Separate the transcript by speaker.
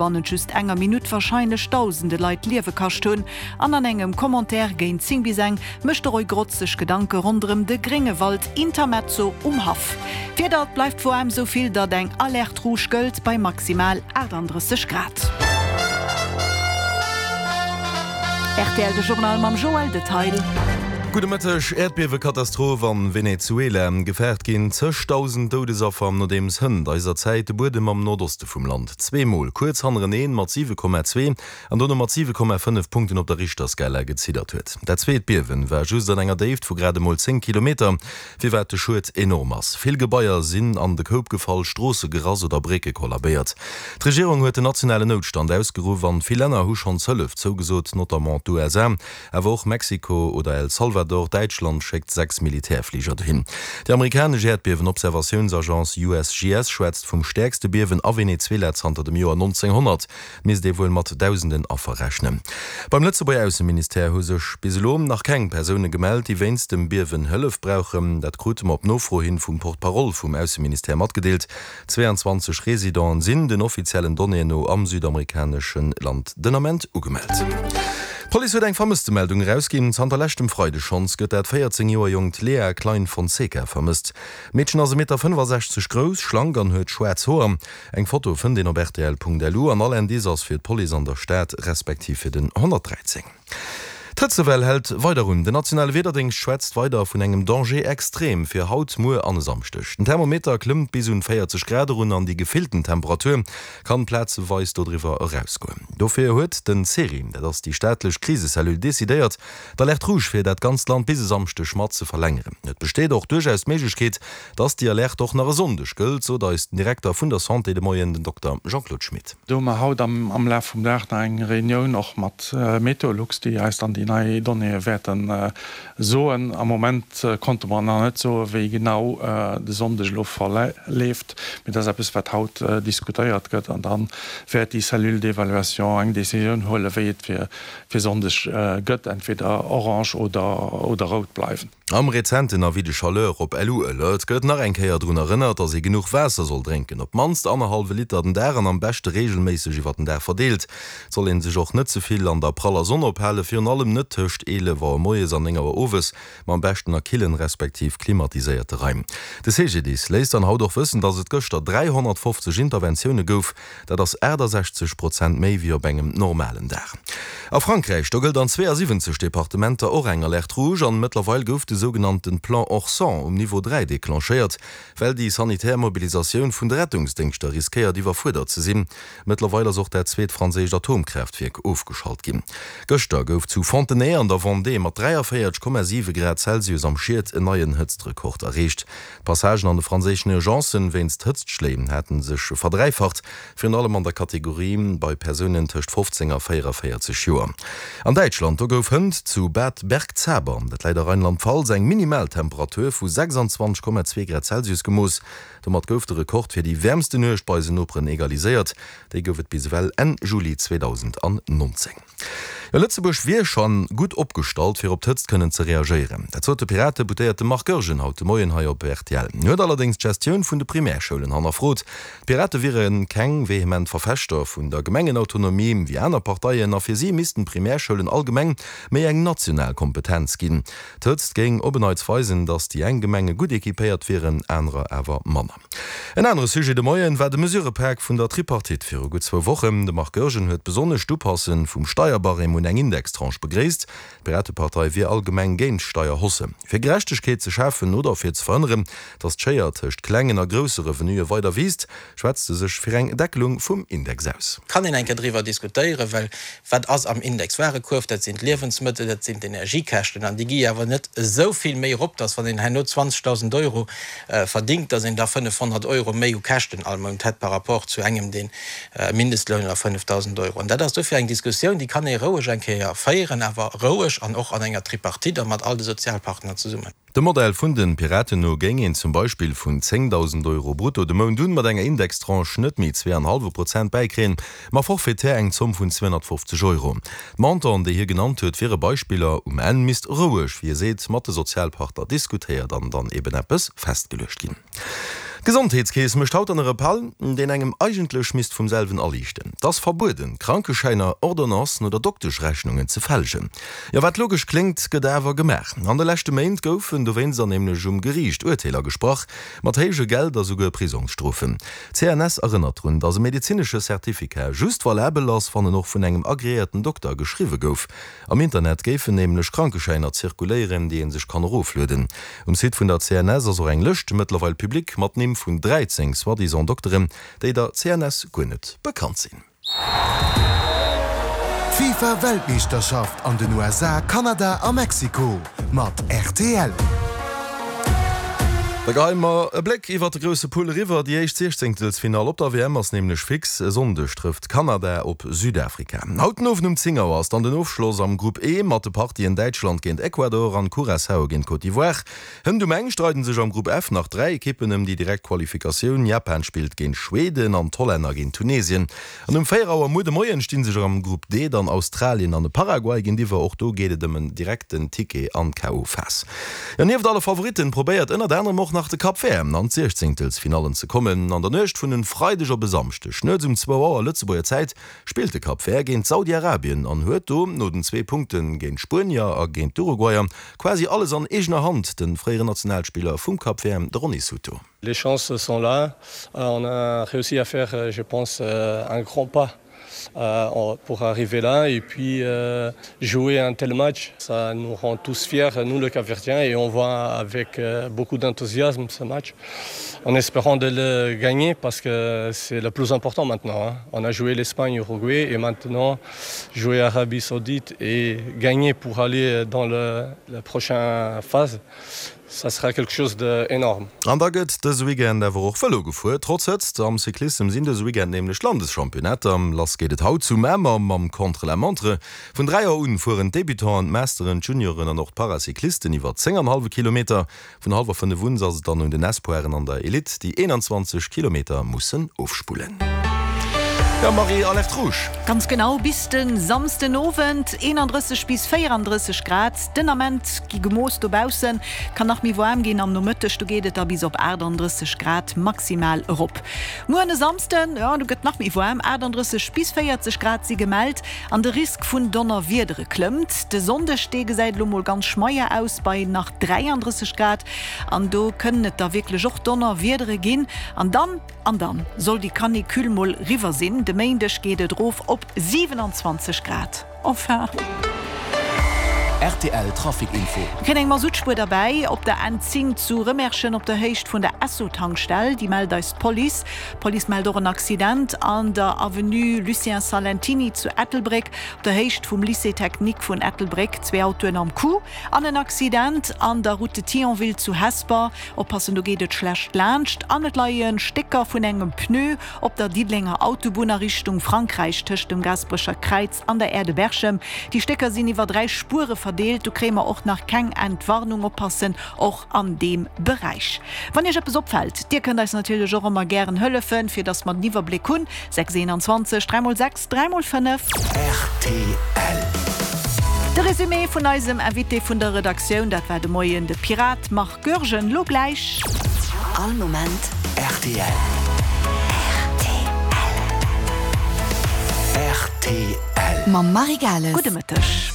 Speaker 1: Bannent just enger Minutt warscheinlech dausende Leit d'Liewe kascht hunn. An an engem Commentaire géint 10 bis eng mécht de Roy Grotz sech Gedanke ronderëm de Gréngewald Intermezzo um Haff. D'Wieder, Et bleift woarm, sou vill datt eng Alerte rouge gëllt, bei maximal 38 Grad. Rtl, De Journal mam Joël Detail.
Speaker 2: Gudde Mëtteg. Äerdbiewekatastroph an Venezuela, Gefaart ginn zëchdausend Doudesaffer, nodeems hënt eiser Zäit de Buedem am Nordoste vum Land zweemol kuerz hannereneen mat 7,2 an dono mat 7,5 Punkten op der Richterskala geziddert huet. Dat zweet Biewen war just an enger Déift vu grad emol 10 Kilometer, firwat de Schued enorm ass. Vill Gebaier sinn an de Koup gefall, Stroosse gerass oder Brécke kollabéiert. D'Regierung huet den nationalen Noutstand ausgeruff an vill Länner hu schonns Hëllef zougesot, notamment d'USA. Awer och Mexiko oder El Salvador. Däitschland schéckt 6 Militärfliger dohin. Déi amerikanesch Äerdbiewen-Observatiounsagence USGS schwätzt vum stäerkste Biewen a Venezuela zanter dem Joer 1900. Et misst ee wuel mat dausenden Affer rechnen. Beim Lëtzebuerger Ausseministère hu sech bis elo nach keng Persoune gemellt, déi wéinst dem Biewen Hëllef brauchen. Dat krute mer op Nofro hin vum Porte-parole vum Ausseministère matgedeelt. 22 Residenten sinn den offiziellen Donnéeën no am südamerikanesche Land den Ament ugemellt. D'Police huet eng Vermësstemeldung erausginn. Zanter leschtem Freideg schonns gëtt dat 14 Joer jonkt Lea Klein Fonseca vermësst. D'Meedchen ass e Meter 65 grouss, schlank an huet schwaarz Hoer. Eng Foto fënnt een op rtl.lu an all Indice ass fir d'Police an der Stad respektiv fir den 113. D'Hëtzewell hält weider un. Den nationale Wiederdéngscht schwätzt weider vun engem Danger extrême fir haut, muer an e Samschdeg. Den Thermometer klëmmt bis un 40 Grad erun an déi gefillten Temperatur kann plazeweis dodriwwer erausgoen. Dofir huet den CERI, dat ass déi staatlech Krisecellule, decidéiert, d'Alerte rouge fir dat ganzt Land bis e Samschdeg mat ze verlängeren. Et besteet och duerchaus d'Méiglechkeet, dass déi Alerte och nach e Sonndeg gëllt, sot eis den Direkter vun der Santé de Moien, den Dokter Jean-Claude Schmit.
Speaker 3: Do hu mer haut am Laf vum Dag nach eng Reunioun och mat Meteolux, déi eis dann déi nei Donnéeë wäerte soen. Am Moment konnte mer nach net soen, wéi genau de Sonndeg elo verleeft, mee dat ass eppes, wat haut diskutéiert gëtt an da wäert déi Cellule d'évaluation eng Decisioun huelen, wéi et fir Sonndeg gëtt, entweder orange oder rout bleiwen.
Speaker 2: Am rezenten Avis de chaleur op LU-Alert gëtt nach eng Kéier drun erënnert, dass ee genuch Waasser soll drénken, op d'mannst annerhallwe Liter den Dag an am beschte reegelméisseg iwwer den Dag verdeelt. Et soll ee sech och net ze vill an der praller Sonn ophalen, virun allem net tëscht 11 Auer moies an 9 Auer owes, ma am beschten a killen, respektiv klimatiséierte Raim. De CGDIS léisst dann haut och wëssen, dass et gëschter 350 Interventioune gouf, Dat ass 68 Prozent méi wéi op engem normalen Dag. A Frankräich, do gëllt an 72 Departementer och eng Alerte rouge an mëttlerweil gouf de sougenannte Plan Orsan um Niveau 3 declenchéiert, well déi sanitär Mobilisatioun vun de Rettungsdéngschter riskéiert iwwerfuerdert ze sinn. Mëttlerweil ass och dat zweet franséischt Atomkraaftwierk ofgeschalt ginn. Gëschter gouf zu Fontenay an der Vendée mat 43,7 Grad Celsius am Schiet en neien Hëtztrekord erreecht. D'Passagen an de franséischen Urgencen wéinst Hëtztschléi hate sech verdräifacht, virun allem an der Kategorie bei Persounen tëscht 15 a 44 Joer. An Däitschland, do gouf hënt zu Bad Bergzabern, dat läit a Rheinland-Pfalz, eng Minimaltemperatur vu 26,2 Grad Celsius gemooss. Domat gouf de Rekord fir déi wäermste Nuecht bei eisen Noperen egaliséiert. Déi gouf et bis ewell Enn Juli 2019. Jo, Lëtzebuerg wier scho gutt opgestallt, fir op d'Hëtzt kënnen ze reagéieren. Dat sot de Piratedeputéierte Marc Goergen haut de Moien hei op rtl. Hien huet allerdéngs d'Gestioun vun de Primärschoulen hannerfrot. D'Pirate wiere keng vehement Verfechter vun der Gemengenautonomie wéi aner Parteien a fir si missten d'Primärschoulen allgemeng méi eng national Kompetenz ginn. D'Hëtzt géing op en Neits weisen, datt déi eng Gemenge gutt equipéiert wieren, anerer awer manner. En anere Sujet de Moien war de Mesurëpak vun der Tripartite viru gutt zwou Wochen. De Marc Goergen huet besonnesch d'Upasse vum Steierbarème un eng Indextranche begréisst. D'Piratepartei wier allgemeng géint Steierhausse. Fir Gerechtegkeet ze schafen oder fir ze verhënneren, datt d'Schéier tëscht klengen a grousse Revenuë weider wiisst, schwätzt se sech fir eng Deckelung vum Index aus.
Speaker 4: Kann een eng Kéier driwwer diskutéieren, well Wat ass am Index Warekuerf? Dat sinn d'Liewensmëttel, dat sinn d'Energiekäschten. An déi gi jo awer net esou vill méi erop, dass wann een herno 20.000 Euro verdingt, dass een da 500 Euro méi u Käschten all Mount hätt par rapport zu engem, deen e Mindestloun oder 5.000 Euro. An dat ass dofir eng Diskussioun, déi kann ee roueg eng Kéier féieren, awer roueg an och an enger Tripartite a mat all de Sozialpartner zesummen.
Speaker 2: Dem Modell vun de Piraten no géing een zum Beispill vun 10.000 Euro brutto de Mount un mat enger Indextranche net méi zwee an hallwe Prozent bäikréien, ma forfaitaire eng Zomm vun 250 Euro. D'Montanten, déi hie genannt huet, wiere Beispiller. Um Enn misst roueg, wéi e seet, mat de Sozialpartner diskutéiert an dann eben eppes festgeluecht ginn. D'Gesondheetskeess mécht haut dann e Rappell, deen engem eigentlech misst vum selwen aliichten. Et ass verbueden, Krankeschäiner, Ordonnancen oder Dokteschrechnungen ze fälschen. Jo, wat logesch kléngt, gëtt awer gemaach. An de leschte Méint goufen dowéinst an nämlech um Geriicht Urteeler gesprach, mat héije Geld a souguer Prisongsstrofen. D'CNS erënnert drun, datt e medezinesche Certificat just valabel ass, wann en och vun engem agreéierten Dokter geschriwwe gouf. Am Internet géifen nämlech Krankeschäiner zirkuléieren, déi ee sech kann eroflueden. Um Site vun der CNS ass och eng Lëscht, mëttlerweil public, mat Nimm vun 13 soi-disant Dokteren, déi der CNS guer net bekannt sinn.
Speaker 5: D'FIFA-Weltmeeschterschaft an den USA, Kanada a Mexiko mat rtl.
Speaker 2: Da geheie mer e Bléck iwwer de grousse Pull eriwwer. Déi éischt Siechzéngtelsfinall op der WM ass nämlech fix. E Sonndeg trëfft Kanada op Südafrika. Haut den Owend um 10 Auer ass dann den Ofschloss am Grupp E mat de Partien Däitschland géint Ecuador an Curaçao géint Côte d'Ivoire. Hënt um eng streiden sech am Grupp F nach 3 Ekippen ëm déi direkt Qualifikatioun. Japan spillt géint Schweden an d'Hollänner géint Tunesien. An um 4 Auer muer de Moien sti sech am Grupp D dann Australien an de Paraguay géintiwwer. Och do geet et ëm en direkten Ticket an d'KO-Phas. Jo, nieft alle Favoritten probéiert ënnert anerem och nach de Cap Vert an d'Siechzéngtelsfinallen ze kommen. An der Nuecht vun en Freideg op e Samschdeg nuets um zwou Auer Lëtzebuerger Zäit spillt de Cap Vert géint Saudi-Arabien an huet do, no den zwee Punkte géint d'Spuenier a géint d'Uruguayer, quasi alles an eegener Hand, de fréieren Nationalspiller vum Cap Vert, de Ronny Souto.
Speaker 6: Les chances sont là, on a réussi à faire je pense un grand pas pour arriver là et puis jouer un tel match ça nous rend tous fiers nous les Capverdiens et on voit avec beaucoup d'enthousiasme ce match en espérant de le gagner parce que c'est le plus important maintenant on a joué l'Espagne Uruguay et maintenant jouer Arabie Saoudite et gagner pour aller dans le la prochaine phase ça sera quelque chose d'énorme.
Speaker 2: An da gëtt dëse Weekend awer och Vëlo gefuer, trotz Hëtzt. Am Cyclissem sinn dëse Weekend nämlech d'Landeschampionnater. Lass geet et haut zu Mamer mam Contre-la-montre. Vun 3 Auer un fueren d'Debutanten, d'Masteren, d'Junioren an och d'Paracyclisten iwwer 10 an hallwe Kilometer. Vun hallwer 5 un ass et dann un den Espoiren an der Elite, déi 21 Kilometer mussen ofspullen. Jo Marie, Alerte rouge!
Speaker 1: Ganz genau, bis de Samsden Owend 31 bis 34 Grad den Ament gi gemooss dobaussen. Kann nach méi waarm ginn am Nomëtteg, do geet et da bis op 38 Grad maximal erop. Muer e Samsden, jo do gëtt nach méi waarm, 38 bis 40 Grad si gemellt. An de Risk vun Donnerwiedere klëmmt. De Sonndeg, dee gesäit elo mol ganz schmeier aus bei nach 33 Grad an do kënnen et da wierklech och Donnerwiedere ginn. An dann, an dann soll déi Canicule mol riwwer sinn. De Méindeg geet et erof op 27 Grad. Enfin.
Speaker 5: Rtl Trafic Info.
Speaker 1: Mir kréien eng Masuttspuer derbäi op der N10 zu Rëmerschen op der Héicht vun der Esso-Tankstell. Déi mellt eis d'Police. D'Police mellt och en Accident an der Avenue Lucien Salentiny zu Ettelbréck, op der Héicht vum Lycée technique vun Ettelbréck. Zwee Autoen am Coup an en Accident an der Route de Thionville zu Hesper. Oppassen, do geet et schlecht laanscht an et leie Stécker vun engem Pneu op der Diddelenger Autobunn a Richtung Frankräich tëscht dem Gaasperecher Kräiz an der Aire de Berchem. Déi Stécker sinn iwwer 3 Spuere verdeelt. Do kréie mer och nach keng Entwarnung. Oppassen och an deem Beräich. Wann Iech eppes opfält, Dir kënnt eis natierlech och ëmmer gären hëllefen, fir dass mer den Iwwerbléck hunn. 6 21 3 mol 6 3 mol 5.
Speaker 5: Rtl.
Speaker 1: De Résumé vun eisem Invité vun der Redaktioun, dat war de Moien de Pirat Marc Goergen. Lo gläich.
Speaker 5: All Moment rtl. Rtl.
Speaker 1: Mam Marie Gales. Gudde Mëtteg.